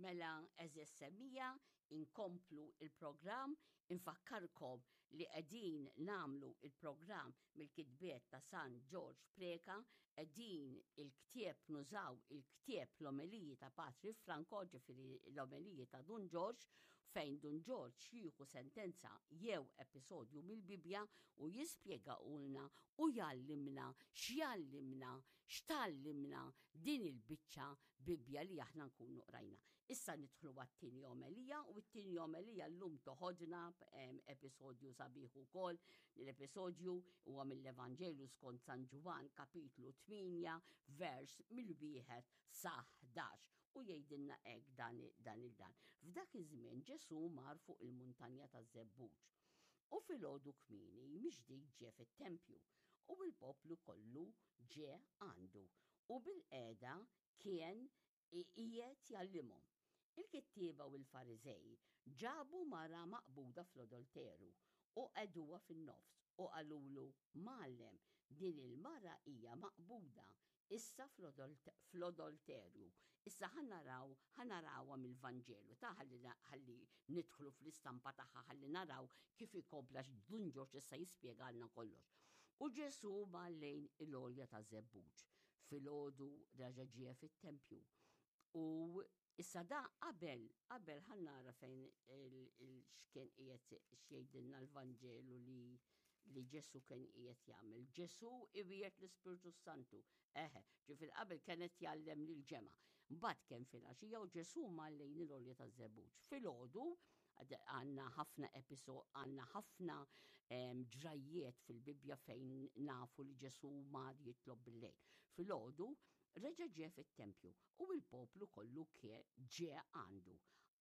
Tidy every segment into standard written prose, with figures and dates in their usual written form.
Mela, għeżież semmiegħa, inkomplu il-programm, infakkarkom li qegħdin nagħmlu il-programm mill-kitbiet ta' San Ġorġ Preca, qegħdin il-ktieb nużaw il-ktieb l-omeliji ta' Patri Franco, ġifieri l-omeliji ta' Dun Ġorġ, fejn Dun Ġorġ jieħu sentenza jew episodju mill-Bibbja u jispjegahulna u jgħallimna x'jgħallimna, x'tgħallimna din il-biċċa Bibbja li aħna nkunu qrajna. Issa nidħlu għat-tieni omelija u t-tieni omelija llum toħodna episodju sabiħ ukoll. L-episodju huwa mill-Evanġelju skont San Ġwann kapitlu 8 vers mill-wieħed sa 11 u jgħidilna hekk dan dan il-dan. F'dak iż-żmien Ġesù mar fuq il-muntanja taż-Żebbuġ. U filgħodu kmieni miġdid ġie fit-tempju u l-poplu kollu ġie għandu u bilqiegħda kien qiegħed jgħallimhom. Il-kittieba u l-Fariżej ġabu mara maqbuda fl-adolteru u qegħduha fin-nofs u qalulu, Mgħallem, din il-mara hija maqbuda issa fl-adolterju. Issa ħa naraw, ħa narawha mill-Vanġelu ta' ħalli ħalli nidħlu fl-istampa tagħha ħalli naraw kif ikompla Dun Ġorġ issa jispjegalna kollox. U Ġesù mar lejn il-għolja ta' Żebbuġ. Filgħodu raġa' ġie fit-tempju. U issa da qabel, qabel ħa nara fejn x'kien qiegħed x'jgħidilna l-Vanġelu li li Ġesu kien qiegħed jagħmel. Ġesu iwiegħed l-Ispirtu Santu. Eħe, ġifier qabel kienet jgħallem lil ġemgħa. Mbagħad kien filgħaxija u Ġesu mar lejn il-għolja taż-Żebbuġ. Filgħodu għandna ħafna episod, għandna ħafna ġrajjiet fil-Bibbja fejn nafu li Ġesu mar jitlob bil-lejl. Filgħodu reġa' ġie fit-tempju u l-poplu kollu ġie għandu.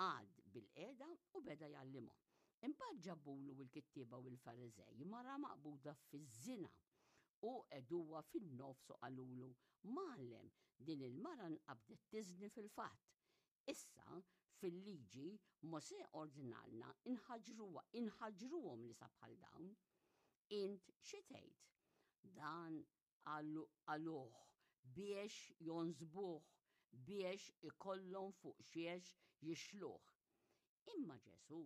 Qagħad bil-qiegħda u beda jgħallimhom. Imbagħad ġabulu l-kittieba u l-Fariżej mara maqbuda fiż-żina u qegħduha fin-nofs u qalulu, Mgħallem, din il-mara nqabdet tiżni fil-fatt. Issa, fil-liġi, Mosè ordnalna nħaġġruha, inħaġġruhom nisa bħal dawn. Int xi tgħid? Dan qaluh biex jonsbuh, biex ikollhom fuq xiex jixluh. Imma Ġesù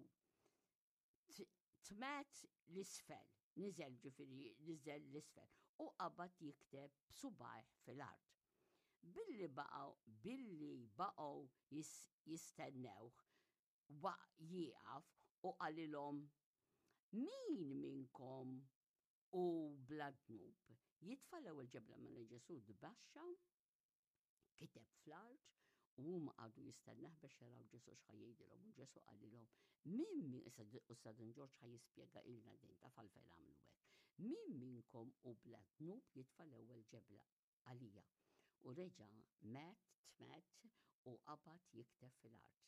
tmet l-isfel, niżel ġifieri niżel l-isfel u qabad jikteb b'subgħajh fil-art. Billi baqgħu billi baqgħu jistennewh waq jieqaf u qalilhom Min minnkom hu bla dnub jitfa' l-ewwel ġebla mela Ġesù tbaxxa kiteb fl-art u huma qagħdu jistennah biex jaraw Ġesù x'ħa jgħidilhom u Ġesù qalilhom min min issa Dun Ġorġ ħa jispjega ilna din taf għalfejn għamlu hekk. Min minnkom hu bla dnub jitfa' l-ewwel ġebla għalija. U reġa' met tmet u qabad jikteb fil-art.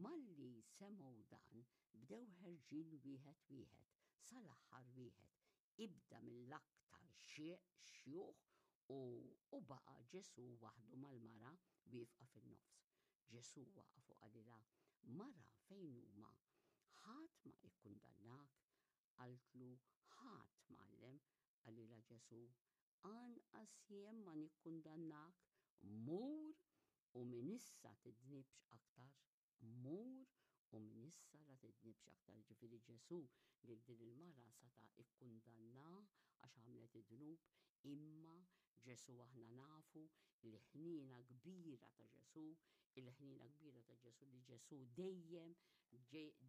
Malli semgħu dan bdew ħerġin wieħed wieħed sal-aħħar wieħed ibda mill-aktar xjuħ u u baqa' Ġesù waħdu mal-mara wieqfa fin-nofs. Ġesù waqaf u qalilha, Mara, fejn huma? Ħadd ma ikkundannak? Qaltlu, Ħadd, Mgħallem. Qalilha Ġesù, Anqas jien ma nikkundannak, mur u minn issa tidnibx aktar. Mur u minn issa la tidnibx aktar. Ġifieri Ġesù lil din il-mara sata' ikkundannha għax għamlet id-dnub, imma Ġesù aħna nafu l-ħniena kbira ta' Ġesù, il-ħniena kbira ta' Ġesù li Ġesù dejjem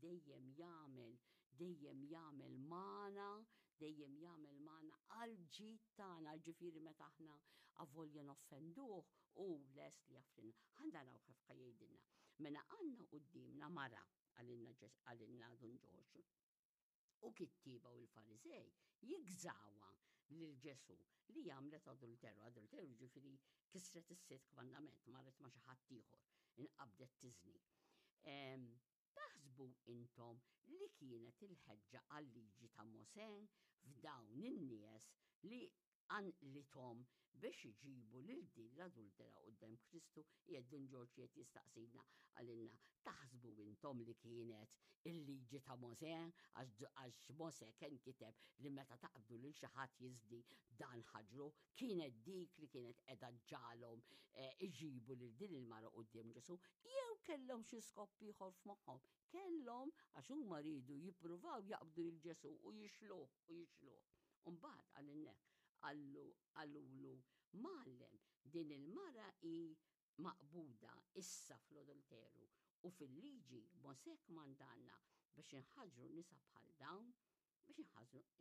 dejjem jagħmel, dejjem jagħmel magħna, dejjem jagħmel magħna għal ġid tagħna, ġifieri meta aħna avolja noffenduh, Hu lest li jaffrilna. Ħa naraw kif ħa jgħidilna. Mela għandna quddiemna mara, qalilna qalilna Dun Ġorġ. U kittieba u l-Fariżej jigżawha lil Ġesù li għamlet adulteru. Adulteru ġifieri kisret is-sitt kmandament, marret ma' xi ħadd ieħor, inqabdet tiżni. Taħsbu intom li kienet il-ħeġġa għal-liġi ta' Mosè f'dawn in-nies li qanqlithom biex iġibu lil din l-adultera quddiem Kristu? Qiegħed Dun Ġorġ qiegħed jistaqsina qalilna, taħsbu intom li kienet il-liġi ta' Mosè? Għax Mosè kien kiteb li meta taqbdu lil xi ħadd jiżni dan ħaġru, kienet dik li kienet qiegħda ġġagħalhom eh, iġibu lil din il-mara quddiem Ġesù, jew kellhom xi skop ieħor f'moħħhom? Kellhom għax huma riedu jippruvaw jaqbdu lil Ġesù u jixluh u jixluh. U mbagħad qalilna qallu qalulu Mgħallem, din il-mara hi maqbuda issa fl-adulteru, u fil-liġi Mosè kmandanna biex inħaġġru nisa bħal dawn, biex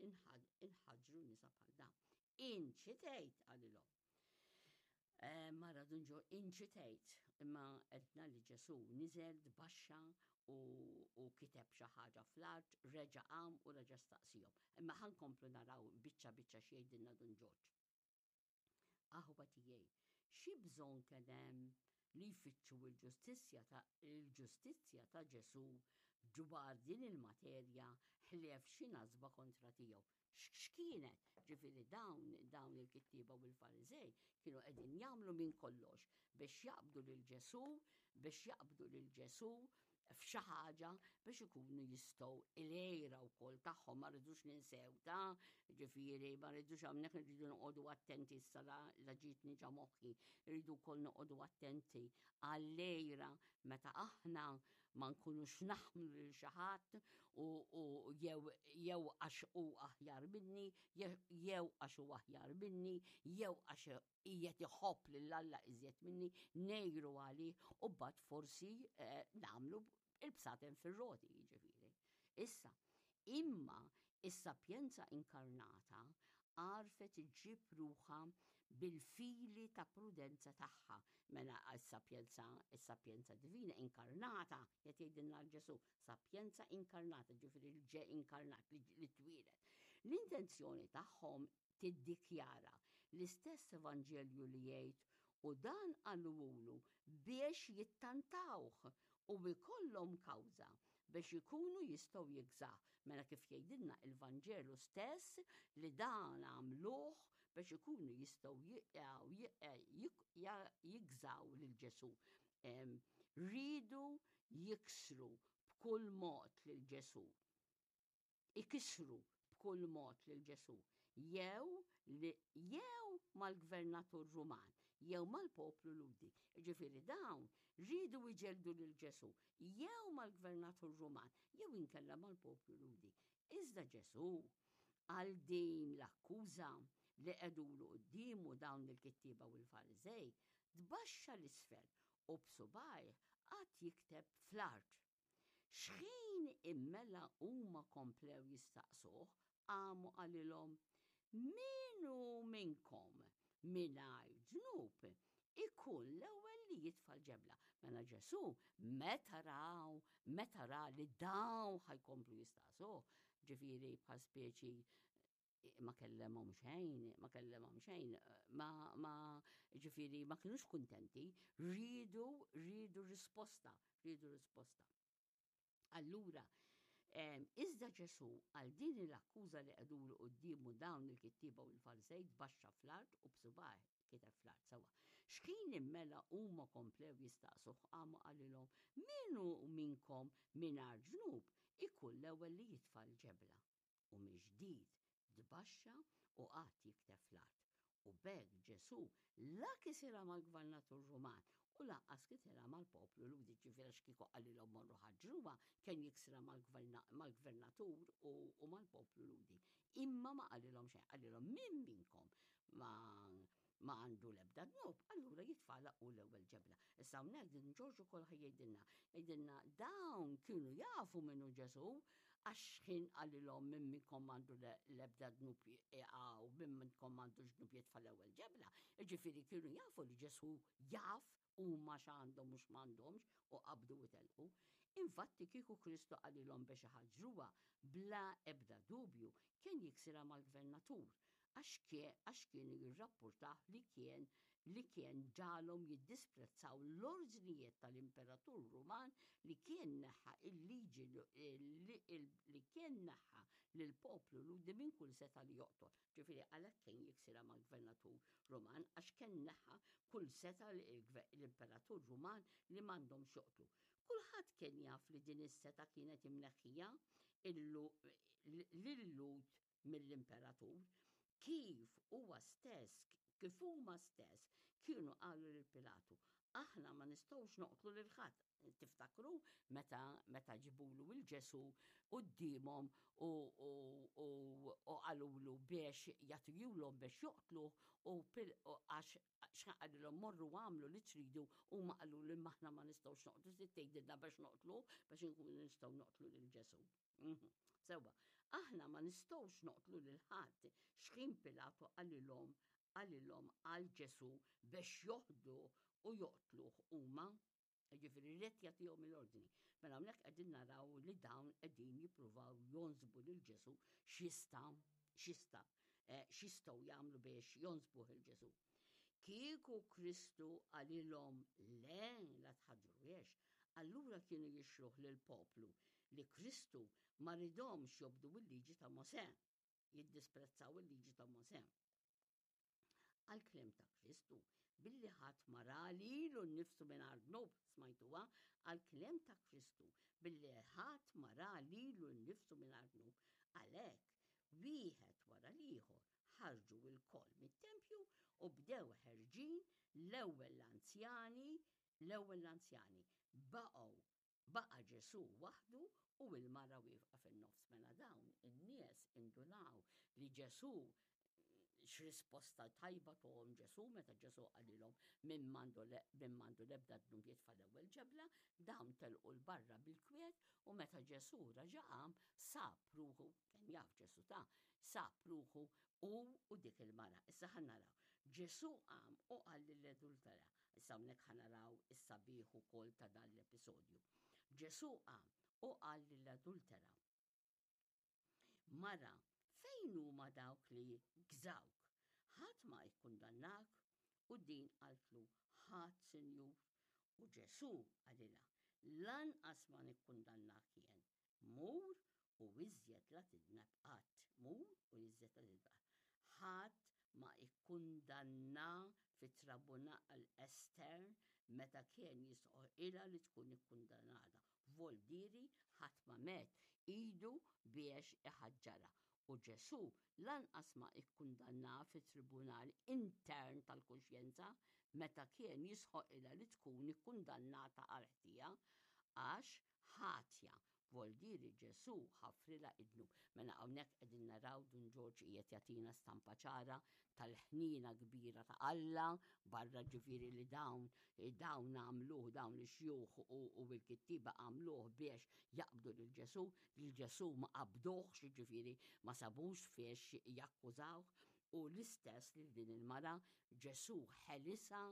inħaġġru nisa bħal dawn. Int xi tgħid? qalilhom. Eh, mara Dun Ġo inċitejt, imma għedna li Ġesù niżel tbaxxa u, u kiteb xi ħaġa fl-art, reġa' qam u reġa' staqsihom. Imma ħa nkomplu naraw biċċa biċċa x'jgħidilna Dun Ġorġ. Aħwa tiegħi, xi bżonn kien hemm li jfittxu l-ġustizzja ta' il-ġustizzja ta' Ġesù dwar din il-materja ħlief xi nasba kontra tiegħu? X'kienet? Ġifieri dawn dawn il-kittieba u l-Fariżej kienu qegħdin jagħmlu minn kollox biex jaqbdu lil Ġesù, biex jaqbdu lil Ġesù f'xi ħaġa biex ikunu jistgħu il-għira wkoll tagħhom ma rridux ninsew ta' ġifieri ma rridux hawnhekk irridu noqogħdu attenti issa la, la ġietni ġa moħħi, irridu wkoll noqogħdu attenti għall-għira meta aħna ma nkunux naħmlu lil xi ħadd u jew jew għax hu aħjar minni, jew għax hu aħjar minni, jew għax qiegħed iħobb lil Alla iżjed minni, ngħiru għalih u mbagħad forsi eh, nagħmlu il-bsaten fir-roti jiġifieri. Issa, imma is-sapjenza inkarnata għarfet iġġib ruħha bil-fili ta' prudenza tagħha. Mela s-sapjenza, is-sapjenza divina inkarnata, qed jgħidilna Ġesù, sapjenza inkarnata, ġifieri l-ġe inkarnat li twieled. L-intenzjoni tagħhom tiddikjara l-istess Evanġelju li jgħid u dan qalulu biex jittantawh u jkollhom kawża biex ikunu jistgħu jigżah. Mela kif jgħidilna il-Vanġelu stess li dan għamluh biex ikunu jistgħu jigżaw lil Ġesù. Riedu jiksru b'kull mod lil Ġesù. Ikissru b'kull mod lil Ġesù, jew li jew mal-gvernatur Ruman, jew mal-poplu Lhudi. Jiġifieri dawn riedu jġelldu lil Ġesù jew mal-gvernatur Ruman, jew inkella mal-poplu Lhudi. Iżda Ġesù għal din l-akkuża li qegħdulu quddiemu dawn il-kittieba u l-Fariżej, tbaxxa 'l isfel u b'subgħajh qagħad jikteb fl-art. X'ħin immela huma komplew jistaqsuh, qam u qalilhom, Min hu minnkom mingħajr dnub ikun l-ewwel li jitfa' l-ġebla. Mela Ġesù meta raw, meta ra li dawn ħa jkomplu jistaqsuh, ġifieri bħal speċi ma kellemhom xejn, ma kellemhom xejn, ma, ma, ġifieri ma kinux kuntenti, riedu, riedu risposta, riedu risposta. Allura, iżda Ġesù għal din l-akkuża li qegħdulu quddiemu dawn il-kittieba u l-Farisej tbaxxa fl-art u b'subgħajh kiteb fl-art sewwa. X'ħin immela huma komplew jistaqsuh qam u qalilhom, Min hu minnkom mingħajr dnub ikun l-ewwel li jitfa' l-ġebla. U mill-ġdid tbaxxa u qagħad jikteb fl-art. U b'hekk Ġesù la kisirha mal-gvernatur Ruman u lanqas kisirha mal-poplu Lhudi, ġifieri għax kieku qalilhom morru ħaġġruha, kien jiksirha mal-gvernatur u mal-poplu Lhudi. Imma ma qalilhom xejn, qalilhom min minnkom ma ma għandu l-ebda dnub, allura jitfagħlha hu l-ewwel ġebla. Issa hawnhekk din Ġorġ ukoll ħa jgħidilna, jgħidilna dawn kienu jafu min hu Ġesù għax x'ħin qalilhom min minnkom m'għandu l-ebda dnub iqgħu, min minnkom m'għandux dnub jitfa' l-ewwel ġebla. Jiġifieri kienu jafu li Ġesù jaf huma x'għandhom u x'm'għandhomx u qabdu u telqu. Infatti kieku Kristu qalilhom biex iħaġġruha bla ebda dubju kien jiksirha mal-gvernatur għax għax kienu jirrappurtah li kien li kien ġagħalhom jiddisprezzaw l-ordnijiet tal-imperatur Ruman li kien neħħa il-liġi li kien neħħa lill-poplu Lhudi minn kull setgħa li joqtol. Ġifieri għalhekk kien jiksirha mal-gvernatur Ruman għax kien neħħa kull setgħa l-imperatur Ruman li m'għandhomx joqtlu. Kulħadd kien jaf li din is-setgħa kienet imneħħija lil-Lhud mill-imperatur, kif huwa stess, kif huma stess kienu qalu lil Pilatu, aħna ma nistgħux noqtlu lil ħadd. Tiftakru meta meta ġibulu il Ġesu quddiemhom u u qalulu biex jagħtihulhom biex joqtluh u għax x'qalilhom morru għamlu li tridu huma qalulu imma aħna ma nistgħux noqtlu trid tgħidilna biex noqtluh biex inkunu nistgħu noqtlu lil Ġesu. Mhm. Sewwa, aħna ma nistgħux noqtlu lil ħadd x'ħin Pilatu qalilhom qalilhom għal Ġesu biex joħdu u joqtluh huma. Ġifieri ried jagħtihom l-ordni. Mela hawnhekk qegħdin naraw li dawn qegħdin jippruvaw jonsbu lil Ġesu x'jista' x'jista' eh, x'jistgħu jagħmlu biex jonsbuh il Ġesu. Kieku Kristu qalilhom le la tħaġġruhiex, allura kienu jixruh lill-poplu li Kristu ma ridhomx jobdu l-liġi ta' Mosè, jiddisprezzaw il-liġi ta' Mosè. Għall-kliem ta' Kristu, billi ħadd ma ra lilu nnifsu mingħajr dnub, smajtuha, għall-kliem ta' Kristu, billi ħadd ma ra lilu nnifsu mingħajr dnub, għalhekk, wieħed wara l-ieħor ħarġu lkoll mit-tempju u bdew ħerġin l-ewwel l-anzjani, l-ewwel l-anzjani, baqgħu Baqa' Ġesù waħdu u l-mara wieqfa fin-nofs. Mela dawn in-nies indunaw li Ġesù x'risposta tajba tuhom Ġesù meta Ġesù qalilhom min m'għandu l-ebda dnub jitfa' l-ewwel ġebla, dawn telqu 'l barra bil-kwiet u meta Ġesù raġa' qam sab ruħu, kien jaf Ġesù ta, sab ruħu hu u dik il-mara. Issa ħa naraw. Ġesù qam u qal lill-adultera. Issa hawnhekk ħa naraw is-sabiħ ukoll ta' dan l-episodju. Ġesù qam u qal lill-adultera. Mara, fejn huma dawk li gżawk? Ħadd ma ikkundannak? U din qaltlu, ħadd, Sinjur. U Ġesù qalilha, lanqas ma nikkundannak jien. Mur u iżjed la tidneb qatt. Mur u iżjed la tidneb qatt. Ħadd ma ikkundanna fit-tribunal estern meta kien jistħoqqilha li tkun ikkundannata. Voldieri ħadd ma medd idu biex iħaġġarha. U Ġesù lanqas ma ikkundannaha fit-tribunal intern tal-kuxjenza meta kien jistħoqqilha li tkun ikkundannata għall-ħtija, għax ħatja. Voldieri Ġesù ħafrilha id-dnub. Mela hawnhekk qegħdin naraw Dun Ġorġ qiegħed jagħtina stampa ċara tal-ħniena kbira ta' Alla, barra ġifieri li dawn dawn għamluh dawn l-xjuħ u, u l-kittiba għamluh biex jaqbdu lil Ġesù, lil Ġesù ma qabduhx, ġifieri ma sabux fiex jakkużawh, u l-istess lil din il-mara Ġesù ħelisha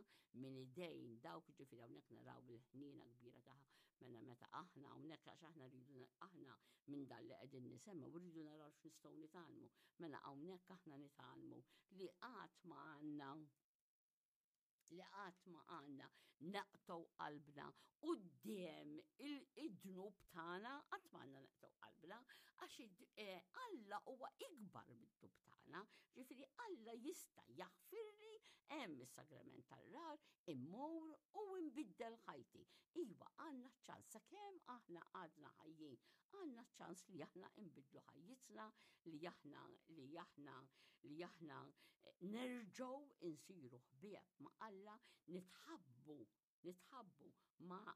minn idejn dawk, ġifieri hawnhekk naraw il-ħniena kbira tagħha. Mela meta aħna hawnhekk għax aħna rridu aħna minn dan li qegħdin nisemgħu rridu naraw x'nistgħu nitgħallmu. Mela hawnhekk aħna nitgħallmu li qatt ma għandna li qatt ma għandna naqtgħu qalbna quddiem id-dnub tagħna, qatt ma għandna naqtgħu qalbna, għax eh, Alla huwa ikbar mid-dnub tagħna, ġifieri Alla jista' jaħfirli hemm is-sagrament tal-rar, immur u nbiddel ħajti. Iva, għandna ċans sakemm aħna għadna ħajjin, għandna ċans li aħna nbiddlu ħajjitna, li aħna li aħna li aħna eh, nerġgħu insiru ħbieb ma' Alla, nitħabbu nitħabbu ma'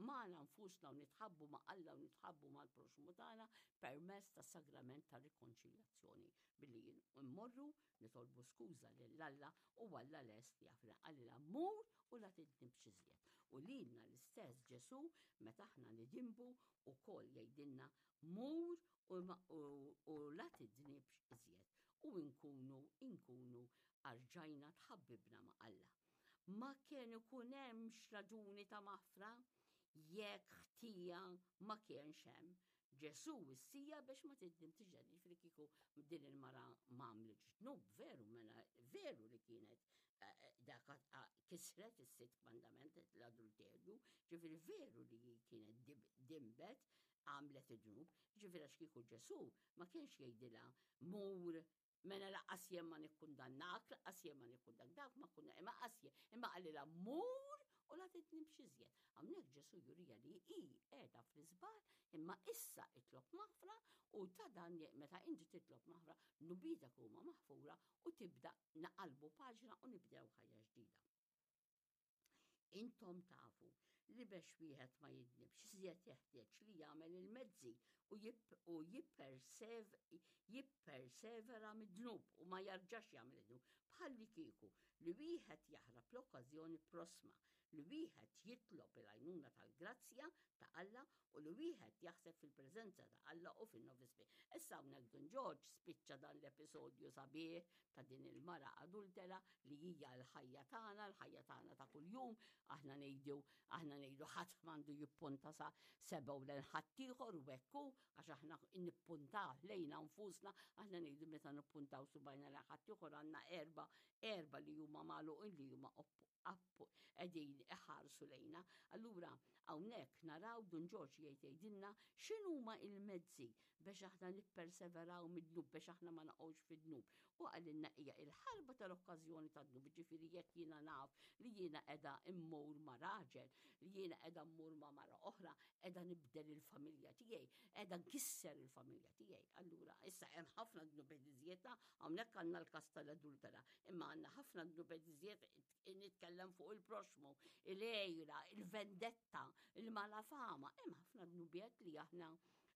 magħna nfusna u nitħabbu ma' Alla u nitħabbu mal-proxmu tagħna permezz tas-sagrament ta' rikonċiljazzjoni billi mmorru nitolbu skuża lil Alla u Alla lest jafna qalilha mur u la tidnibx iżjed. U lilna l-istess Ġesù meta aħna nidinbu ukoll jgħidilna mur u la tidnibx iżjed u nkunu nkunu arġajna tħabbibna ma' Alla. Ma kien ikun hemmx raġuni ta' maħfra jekk ħtija ma kienx hemm. Ġesù wissija biex ma tidnibx iżjed, jiġifieri kieku din il-mara ma għamlitx dnub, veru mela veru li kienet. Dak kisret is-sitt kmandament, l-adulterju, ġifieri veru li hi kienet dinbet, għamlet id-dnub, ġifieri għax kieku Ġesù ma kienx jgħidilha mur mela laqqas jien ma nikkundannak, laqqas jien ma nikkundannak, dak ma kunna imma qas jien, imma qalilha mur u la tidnibx iżjed. Hawnhekk Ġesù jurija li hi qiegħda fl-iżball, imma issa itlob maħfra u ta' dan meta inti titlob maħfra, dnubitek huma maħfura u tibda naqalbu paġna u nibdew ħajja ġdida. Intom tafu li bex wieħed ma jidnibx iżjed jeħtieġ li jagħmel il-mezzi u jippersevera mid-dnub u ma jarġax jagħmel id-dnub. Bħal li kieku li wieħed jaħrab l-okkażjoni prossma, li wieħed jitlob il-għajnuna tal-grazzja ta' Alla u li wieħed jaħseb fil-preżenza ta' Alla u fin-novismi. Issa hawnhekk Dun Ġorġ spiċċa dan l-episodju sabiħ ta' din il-mara adultera li hija l-ħajja tagħna, l-ħajja tagħna ta' kuljum, aħna ngħidu aħna ngħidu ħadd m'għandu jippunta sa sebgħu lejn ħaddieħor u hekk hu għax aħna nippuntaw lejna nfusna, aħna ngħidu meta nippuntaw subajna lejn ħaddieħor għandna erba' erba' li huma magħluqin li huma qegħdin iħarsu lejna. Allura hawnhekk naraw Dun Ġorġ jgħid jgħidilna x'inhuma il-mezzi biex aħna nipperseveraw mid-dnub biex aħna ma naqgħux fid-dnub. U qalilna hija il-ħarba tal-okkażjoni tad-dnub, ġifieri jekk jiena naf li jiena qiegħda immur ma' raġel, li jiena qiegħda mmur ma' mara oħra, qiegħda nibdel il-familja tiegħi, qiegħda nkisser il-familja tiegħi. Allura issa hemm ħafna dnubiet iżjed hawnhekk għandna l-każ tal-adultera, imma għandna ħafna dnubiet iżjed nitkellem fuq il-proxmu, il-għejra, il-vendetta, il-malafama, hemm ħafna dnubiet li aħna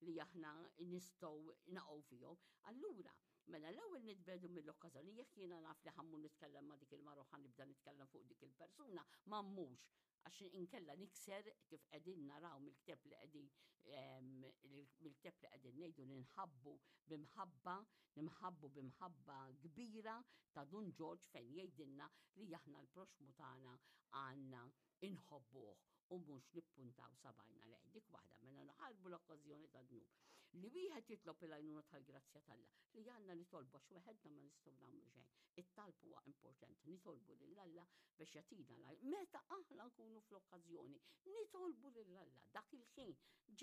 li aħna nistgħu naqgħu fihom. Allura, mela l-ewwel nitbedu mill-okkażjoni jekk jiena naf li ħammu nitkellem ma' dik il-mara u nibda nitkellem fuq dik il-persuna, ma mmux għax inkella nikser kif qegħdin naraw mill-kteb li qegħdin mill-kteb li qegħdin ngħidu li nħabbu b'imħabba, nimħabbu b'imħabba kbira ta' Dun Ġorġ fejn jgħidilna li aħna l-proxmu tagħna għandna inħobbuh u mhux nippuntaw sabajna lejh. Dik waħda mela naħarbu l-okkażjoni ta' dnub. Li wieħed jitlob il-għajnuna tal-grazzja t'Alla, li għandna nitolbu għax weħedna ma nistgħu nagħmlu xejn. It-talb huwa importanti, nitolbu lil Alla biex jagħtina l Meta aħna nkunu fl-okkażjoni, nitolbu lil Alla dak il-ħin.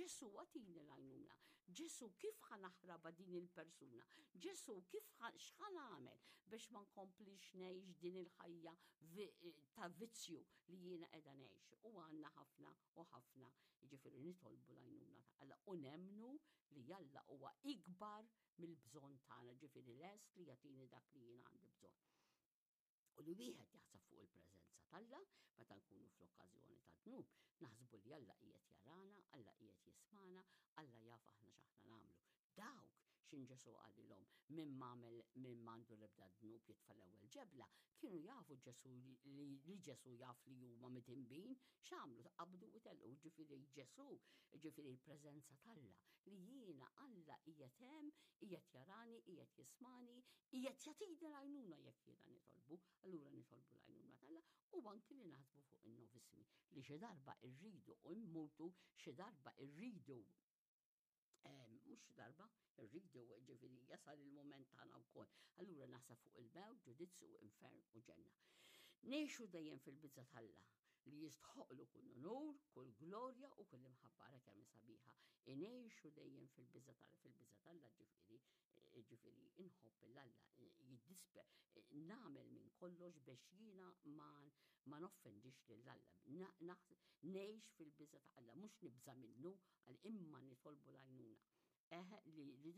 Ġesu agħtini l-għajnuna. Ġesu kif ħa naħrabha din il-persuna? Ġesu kif x'ħa nagħmel biex ma nkomplix ngħix din il-ħajja ta' vizzju li jiena qiegħda ngħix. U għandna ħafna u ħafna, jiġifieri nitolbu l-għajnuna ta' Alla u nemmnu li Alla huwa ikbar mill-bżonn tagħna, ġifieri lest li jagħtini dak li jiena għandi bżonn. U li wieħed jaħseb fuq il-preżenza t'Alla meta nkunu fl-okkażjoni ta' dnub, naħsbu li Alla qiegħed jarana, Alla qiegħed jismana, Alla jaf aħna x'aħna nagħmlu. Dawk x'in Ġesù qalilhom min m'għamel min m'għandu l-ebda dnub jitfa' l-ewwel ġebla, kienu jafu Ġesù li Ġesù jaf li huma midinbin, x'għamlu qabdu u telqu, ġifieri Ġesù, ġifieri l-preżenza t'Alla, li jiena Alla qiegħed hemm, qiegħed jarani, qiegħed jismani, qiegħed jagħtini l-għajnuna jekk jiena nitolbu, allura nitolbu l-għajnuna t'Alla u anki li naħsbu fuq in-novismi li xi darba rridu u mmutu, xi darba rridu mhux xi darba, rridu ġifieri jasal il-mument tagħna wkoll. Allura naħseb fuq il-mewt, ġudizzju, infern u ġenna. Ngħixu dejjem fil-biża' t'Alla li jistħoqlu kull unur, kull glorja u kull imħabba ara kemm sabiħa. Ingħixu dejjem fil-biża' t'Alla, fil-biża' t'Alla ġifieri, ġifieri inħobb 'l Alla, jiddispe, nagħmel minn kollox biex jiena ma ma noffendix lil Alla. Ngħix fil-biża' ta' Alla, mhux nibża' minnu, għal imma nitolbu l-għajnuna. Eħe li li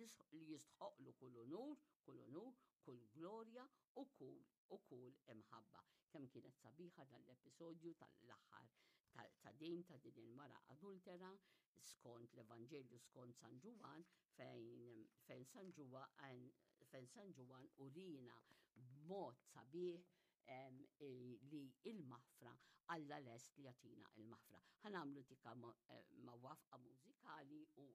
jistħoqlu kull unur, kull unur, kull glorja u kull u kull imħabba. Kemm kienet sabiħa dan l-episodju tal-aħħar ta' din ta' din il-mara adultera skont l-Evanġelju skont San Ġwann fejn fejn San Ġwann fejn San Ġwann urina b'mod sabiħ li il-maħfra Alla lest li jagħtina il-maħfra. Ħa nagħmlu tika eh, ma' waqfa mużikali u